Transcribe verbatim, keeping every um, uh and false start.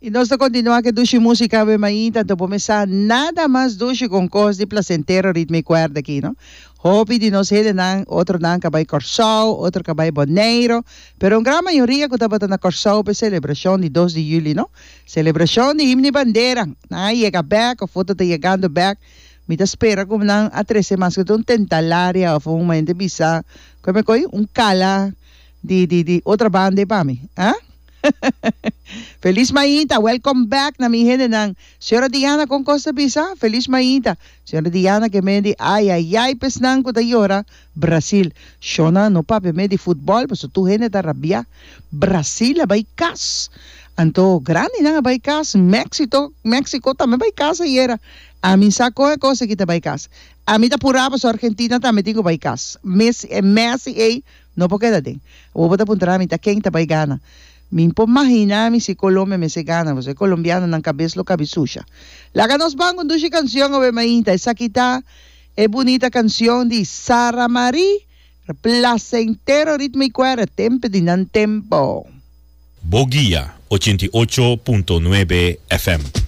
I nos ta kontinuá ku dushi músika awe mainta, anto por mesa nada mas dushi kon kos di plasentero ritmo i kuerda aki, no? Hopi di nos hendenan, otronan ka bai Kòrsou, otro ka bai Boneiru, pero un gran mayoria ku tabata na Kòrsou pa e selebrashon di dos di yüli, no? Selebrashon di Himno i Bandera. Nan a yega bèk òf otro ta yegando bèk. Mi ta spera ku nan a trese maske ta un tentalaria òf un hende bisa, kome koi? Un kala di di di otra banda ei pa mi, ah? Feliz mainta, welcome back na mi hendenan. Señora Diana con cos ta bisa? Feliz mainta. Señora Diana ke men di ay ay ay pesnan ku ta yora Brasil. Shona no papia me di futbol paso tur hende ta rabia. Brasil a bai cas. Anto grandinan a bai cas. Mexito Mexico tambe bai cas ayera. Ami sa con e cos aki ta bai cas. Ami ta pura paso Argentina tambe tin ku bai cas. Messi e Messi ey No por keda den. Awor bo ta puntra mi ta ken ta bai gana. Mi por mahina mi si Colombia mester gana pasobra e colombiano nan kabes lo kabi susha. Laga nos ban un dushi cancion awe mainta. Esaki ta e bunita cancion di Sara Marie, Placentero Ritmo y Cuera, tempo di nan tempo. Bo Guia, ochenta i ocho punto nuebe F M.